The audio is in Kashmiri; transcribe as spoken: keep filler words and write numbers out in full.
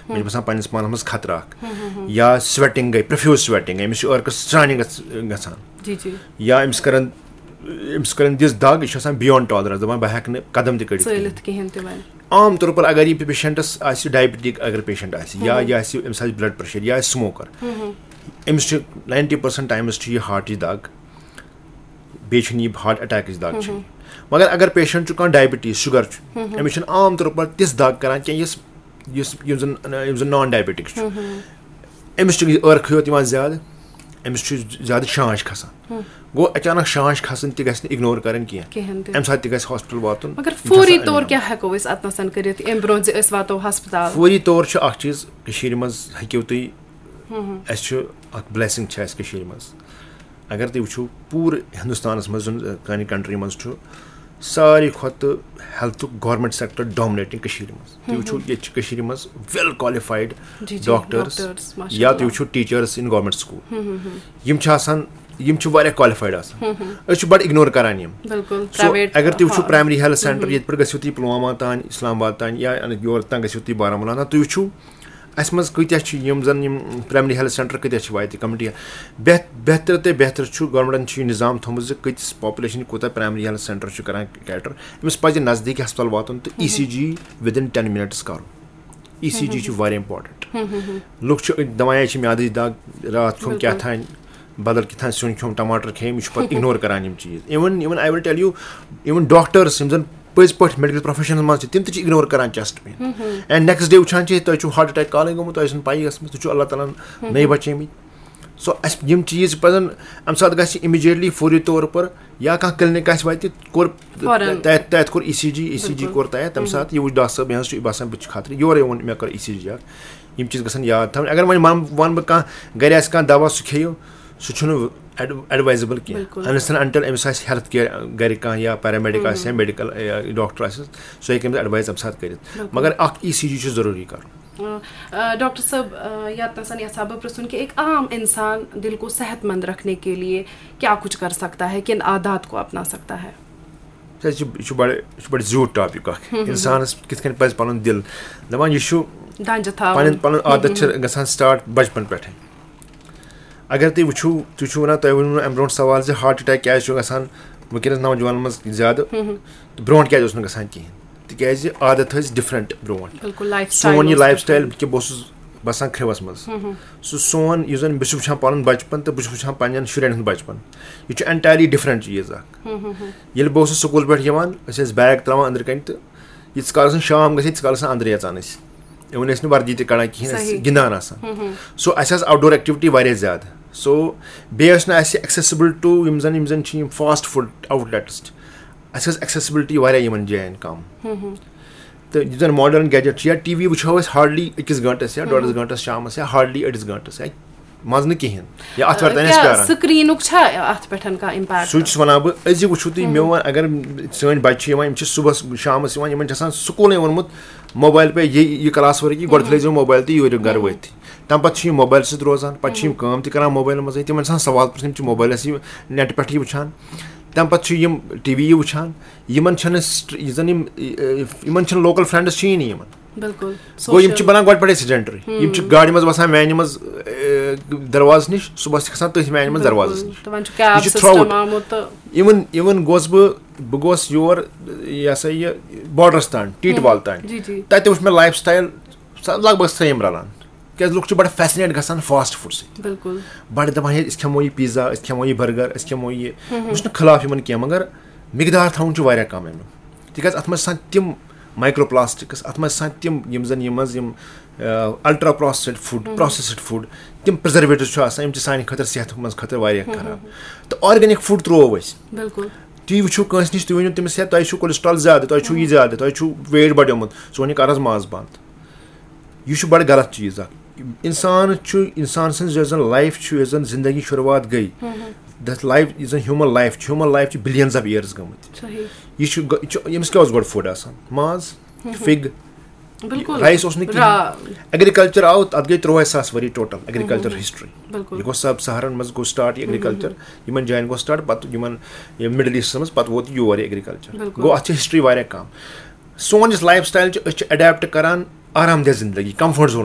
مےٚ چھُ باسان پننِس پانس منٛز خطرٕ اکھ، یا سویٹنگ گٔے، پروفیوز سویٹنگ گٔے، أمِس چھُ عٲرقس سرٛانہِ گژھ- گژھان، جی جی۔ یا أمِس کرن أمِس کرن دِژ دگ، یہِ چھُ آسان بیانڈ ٹالرنس، دپان بہٕ ہٮ۪کہٕ نہٕ قدم تہِ کٔڑِتھ کِہیٖنۍ۔ ژٲلِتھ کِہیٖنۍ تہِ وۄنۍ۔ عام طور پر اگر یہِ پیشنٹس آسہِ ڈائبٹک، اگر پیشنٹ آسہِ یا یہِ آسہِ، أمِس آسہِ بلڈ پریشر یا آسہِ سموکر، أمِس چھُ ناینٹی پرسنٹ ٹایمس چھُ یہِ ہارٹٕچ دگ، بیٚیہِ چھُنہٕ یہِ ہارٹ اٹیکٕچ دگ چھِ۔ مگر اگر پیشنٹ چھُ کانٛہہ ڈائبٹیز، شُگر چھُ، أمِس چھُنہٕ عام طور پر تِژھ دگ کران کینٛہہ یُس یُس یُس زن یُس زن نان ڈائبٹک چھُ، أمِس چھُ عٲرقٕے یوت یِوان زیادٕ، أمِس چھُ زیادٕ شانش کھسان۔ گوٚو اچانک شانش کھسٕنۍ تہِ گژھِ نہٕ اگنور کرٕنۍ کینٛہہ، کِہیٖنۍ تہِ۔ امہِ ساتہٕ تہِ گژھِ ہاسپٹل واتُن۔ مگر یہِ چھُ فوری آسان طور علاج۔ کیٛاہ ہٮ۪کو أسۍ اتھ نسن کٔرِتھ امہِ برونٛہہ زِ أسۍ واتو ہسپتال؟ فوری طور چھُ اکھ چیٖز کٔشیٖرِ منٛز ہیٚکِو تُہۍ، اَسہِ چھُ اکھ بلیسنگ چھِ اَسہِ کٔشیٖرِ منٛز۔ اگر تُہۍ وٕچھِو پوٗرٕ ہندوستانس منٛز، یُس زن سانہِ کنٹری منٛز چھُ ساروی کھۄتہٕ ہیلتھُک گورمنٹ سیکٹر ڈومنیٹنگ کٔشیٖرِ منٛز، تُہۍ وٕچھِو ییٚتہِ چھِ کٔشیٖرِ منٛز ویل کوالیفایڈ جی، جی، ڈاکٹرس، ڈاکٹرس، ماشاء یا اللہ۔ تُہۍ وٕچھِو ٹیچرس ان گورمنٹ سکول، یِم چھِ آسان، یِم چھِ واریاہ کوالیفایڈ آسان۔ أسۍ چھِ بڑٕ اگنور کران یِم۔ بِلکُل، So، پرائیویٹ، اگر تُہۍ وٕچھِو ہاں۔ پرایمری ہیلتھ سینٹر ییٚتہِ پٮ۪ٹھ گٔژھِو تُہۍ پُلوامہ تام، اسلام آباد تام یا یورٕ تام گٔژھِو تُہۍ بارہمولہ تام، تُہۍ وٕچھِو اَسہِ منٛز کۭتیٛاہ چھِ یِم زَن یِم پرایمری ہیلتھ سینٹر کۭتیٛاہ چھِ واتہِ کمٹی۔ بہت-، بہتر تہٕ بہتر چھُ، گورنمنٹَن چھُ یہِ نظام تھوٚمُت زِ کۭتِس پاپولیشن کوٗتاہ پرایمری ہیلتھ سینٹر چھُ کران کیٹر۔ أمِس پَزِ نزدیٖکی ہسپتال واتُن تہٕ ای سی جی within ten minutes کرُن۔ ای سی جی چھُ واریاہ امپورٹنٹ۔ لُکھ چھِ دَپان، "یہِ چھِ میادٕچ دگ، راتھ کھیوٚم کیٛاہ تام، بدل کیٛاہ تام سیُن کھیوٚم، ٹماٹر کھیٚیِم"، یہِ چھُ پَتہٕ اگنور کران یِم چیٖز۔ Even، even I will tell you، even doctors یِم زَن پٔزۍ پٲٹھۍ میڈیکل پروفیشنس منٛز چھِ، تِم تہِ چھِ اگنور کران chest pain. And next day وٕچھان چھِ، تۄہہِ چھُو ہارٹ اٹیک کالٕے گوٚمُت، تۄہہِ چھُنہٕ پَیی ٲسمٕژ، تُہۍ چھِو اللہ تعالیٰ ہن نٔے بچیمٕتۍ۔ سو اَسہِ یِم چیٖز چھِ پَزَن، اَمہِ ساتہٕ گژھِ امیٖڈیٹلی فوری طور پر یا کانٛہہ کلینک آسہِ وَتہِ، کوٚر فوراً۔ تَتہِ، تَتہِ کوٚر ای سی جی، ای سی جی بِلکُل۔ کوٚر تَتہِ، تَمہِ ساتہٕ یہِ وٕچھ ڈاکٹر صٲب، مےٚ حظ چھُ یہِ باسان بہٕ چھُس خطرٕ، یورَے ووٚن مےٚ کٔر ای سی جی اکھ۔ یِم چیٖز گژھن یاد تھاوٕنۍ۔ اگر وۄنۍ وَن-، وَنہٕ بہٕ کانٛہہ گرِ آسہِ کانٛہہ دوا سُہ کھیٚیِو، سُہ چھُنہٕ ایڈ-، ایڈوایزیبل کینٛہہ۔ بِلکُل۔ Unless and until أمِس آسہِ ہیلتھ کیئر گرِ کانٛہہ یا پیرامیڈک آسہِ یا میڈیکل یا ڈاکٹر آسہِ، سُہ ہیٚکہِ أمِس ایڈوایز اَمہِ ساتہٕ کٔرِتھ۔ بِلکُل۔ مگر اکھ ای سی جی چھُ ضروٗری کرُن۔ آ، آ، ڈاکٹر صٲب، آ، یتھ نسن یژھا بہٕ پرژھُن کہ ایک عام انسان دل کو صحت مند رکھنے کے لیے کیا کچھ کر سکتا ہے، کن عادات کو اپنا سکتا ہے؟ سر، یہِ چھُ، یہِ چھُ بڑٕ، یہِ چھُ بڑٕ زیوٗٹھ ٹاپک اکھ۔ انسانس کِتھ کٔنۍ پزِ پنُن دل، دپان یہِ چھُ دنجہِ تھاوُن۔ پنٕنۍ، پنُن عادت چھِ گژھان سٹارٹ بچپن پٮ۪ٹھے۔ اگر تُہۍ وٕچھِو، تُہۍ چھِو ونان، تۄہہِ ووٚنوُ امہِ برونٛٹھ سوال زِ ہارٹ اٹیک کیازِ چھُ گژھان وٕنکیٚنس نوجوانن منٛز زیادٕ تہٕ برونٛٹھ کیازِ اوس نہٕ گژھان کِہینۍ؟ تِکیازِ عادت ٲسۍ ڈفرنٹ برونٛٹھ۔ بِلکُل، لایف سون یہِ اوس لایف سٹایل different۔ کہِ بہٕ اوسُس بسان کھرٛیوس منٛز۔ سُہ سون یُس زن بہٕ چھُس وٕچھان پنُن بچپن تہٕ بہٕ چھُس وٕچھان پننٮ۪ن شُرٮ۪ن ہُنٛد بچپن، یہِ چھُ انٹایرلی ڈفرنٹ چیٖز اکھ۔ ییٚلہِ بہٕ اوسُس سکوٗل پٮ۪ٹھ یِوان، أسۍ ٲسۍ بیگ تراوان أنٛدرٕ کنہِ تہٕ ییٖتِس کالس نہٕ شام گژھِ، تیٖتِس کالس ٲسۍ أنٛدرٕے اژان أسۍ۔ اِوٕن ٲسۍ نہٕ وردی تہِ کڑان کِہینۍ، أسۍ ٲسۍ صحیح۔ گِنٛدان آسان۔ سو اَسہِ ٲس آوٹ ڈور ایکٹیوٹی واریاہ زیادٕ۔ سو بیٚیہِ ٲسۍ نہٕ اَسہِ ایکسیسبل ٹو یِم زن، یِم زن چھِ یِم فاسٹ فوڈ آوٹ لیٹس چھِ، اَسہِ ٲس ایکسیسبلٹی واریاہ یِمن جاین کم۔ تہٕ یُس زن ماڈرن گیجٹ چھُ یا ٹی وی وٕچھو أسۍ ہارڈلی أکِس گٲنٛٹس یا ڈۄڈس گٲنٛٹس شامس یا ہارڈلی أڑِس گٲنٛٹس یا منٛز نہٕ کِہینۍ یا اتھ وقتن ٲسۍ کیٛاہ پیاران۔ سکرینُک چھا اتھ پٮ۪ٹھ کانٛہہ امپیکٹ؟ سُے چھُس ونان بہٕ، أزی وٕچھِو تُہۍ، مےٚ وَن، اگر سٲنۍ بچہِ چھِ یِوان، یِم چھِ صُبحس شامس یِوان، یِمن چھِ آسان سکوٗلے ووٚنمُت موبایل پے، یہِ، یہِ کلاس ؤرک، یہِ گۄڈٕ کھُلٲیزیو موبایل تہٕ یہِ ؤرِو گرٕ وٲتۍ۔ تمہِ پتہٕ چھِ یِم موبایل سۭتۍ روزان، پتہٕ چھِ یِم کٲم تہِ کران موبایلہٕ منٛزٕے، تِمن چھِ آسان سوال پرژھُن، یِم چھِ موبایلس یہِ نیٹ پٮ۪ٹھ یہِ وٕچھان، تمہِ پتہٕ چھِ یِم ٹی وی یہِ وٕچھان، یِمن چھنہٕ سٹ-، یہِ زن یِم، یِمن چھِنہٕ لوکل فرینڈس چھِیی نہٕ یِمن۔ بِلکُل۔ گوٚو یِم چھِ سوشل۔ بنان گۄڈٕ پٮ۪ٹھے سیڈنٹری۔ یِم چھِ گاڑِ منٛز وسان وینہِ منٛز، اے، دروازٕ نِش، صُبحس چھِ کھسان تٔتھۍ وینہِ منٛز دروازٕ بِلکُل۔ نِش۔ تہٕ وۄنۍ چھُ کیب یہِ چھُ سسٹم throughout۔ آمُت تہٕ اِوٕن، اِوٕن گوس بہٕ، بہٕ گوس یور، یہِ ہسا یہِ، بارڈرس تام، ٹیٖٹۍ وال تام۔ جی، جی۔ تتہِ وٕچھ مےٚ لایف سٹایل لگ بگ سیم رلان۔ کیازِ لُکھ چھِ بڑٕ فیسنیٹ گژھان فاسٹ فوڈ سۭتۍ۔ بِلکُل۔ بڑٕ دپان، ہے، أسۍ کھٮ۪مو یہِ پیزا، أسۍ کھٮ۪مو یہِ برگر، أسۍ کھٮ۪مو یہِ۔ بہٕ چھُس نہٕ خلاف یِمن کینٛہہ، مگر مقدار تھاوُن چھُ واریاہ کم امیُک۔ تِکیازِ اتھ منٛز چھِ آسان تِم مایکرو پلاسٹکس، اتھ منٛز چھِ آسان تِم، یِم زن، یِم منٛز یِم، آ، ultra processed food, processed food, تِم پرزرویٹوز چھِ آسان، یِم چھِ سانہِ خٲطرٕ، صحتہٕ منٛز خٲطرٕ واریاہ خراب۔ تہٕ آرگینک فوڈ ترٛوو أسۍ۔ بِلکُل۔ تُہۍ وٕچھِو کٲنٛسہِ نِش، تُہۍ ؤنِو تٔمِس، ہے، تۄہہِ چھُو cholesterol زیادٕ، تۄہہِ چھُو یہِ زیادٕ، تۄہہِ چھُو weight بڑیومُت، سون یہِ کر حظ ماز بنٛد۔ یہِ چھُ بڑٕ غلط چیٖز اکھ۔ انسان چھُ، انسان سٕنٛز یۄس زن life چھُ، یۄس زن زندگی شروٗعات گٔے، that life، یُس زن human life چھُ، human life چھِ billions of years گٔمٕتۍ۔ صحیح۔ یہِ چھُ گۄ-، یہِ چھُ، أمِس کیٛاہ اوس گۄڈٕ food آسان؟ ماز، fig، بِلکُل۔ rice اوس نہٕ کِہیٖنۍ۔ را-، Agriculture آو، اتھ گٔے ترٛوہے ساس ؤری total agriculture history۔ بِلکُل۔ یہِ گوٚو sub Saharan منٛز گوٚو start یہِ agriculture، یِمن جاین گوٚو start، پتہٕ یِمن، یہِ Middle East منٛز، پتہٕ ووت یور یہِ agriculture۔ بِلکُل۔ گوٚو اتھ چھِ history واریاہ کم۔ سون یُس life style چھُ، أسۍ چھِ adapt کران آرام دہ زندگی، comfort zone۔